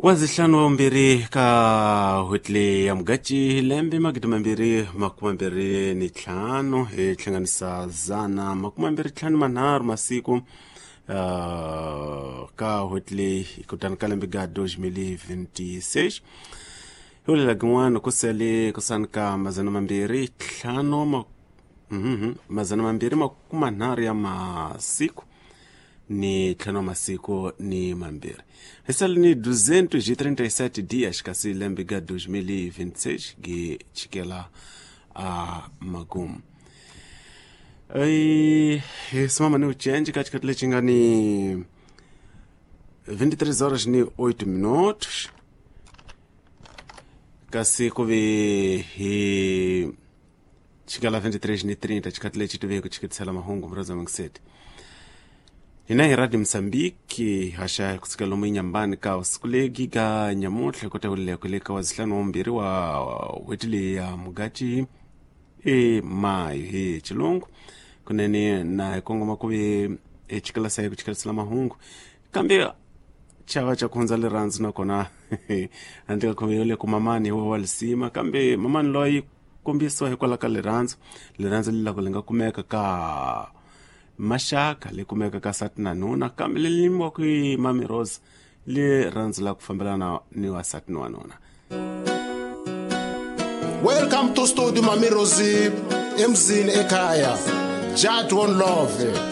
Wa zihlanu wa mbirhi ka n'hweti leyi ya Mugati lembe 2025 hi hlanganisa 253 masiku ka n'hweti leyi kutani ka lembe ga 2026 hi vulela kun'wana ku sele kusani ka 205 230 ya masiku ni tlhanu masiku ni mambirhi hi sale ni 237 dias kasi lembe ga 2026 gi chikela a magumu. Hi simama ni uchenji ka xikati lexi nga ni 23 horas ni 8 minutos kasi ku ve hi chikela 23 ni 30 xikati lexi tiveke ku chiketisela mahungu mroza mangiseti. Hina hi Radio Mozambique haxa kusukela lomu inyambani ka usiku legi ka nyamutlha kota huleko le ka wazihlanu wa mbirhi wa n'hweti leyi ya Mugati e mayo hi Chilungu kunene na hi kongoma ku ve hi chikela sa hi ku chikelisela mahungu kambe chava cha ku hundza rirhandzu nakona handle ka khome yo le ku mamani hi wa lisima kambe mamani loyi kombisiwa hikwalaho ka rirhandzu rirhandzu leri loko li nga kumeka ka maxaka le kumeka ka sati na nuna kambe le limiwaka hi Mami Rose le rhandzu la ku fambelana ni wasati ni wanuna. Welcome to studio Mami Rosie emzini ekhaya. Jat one love.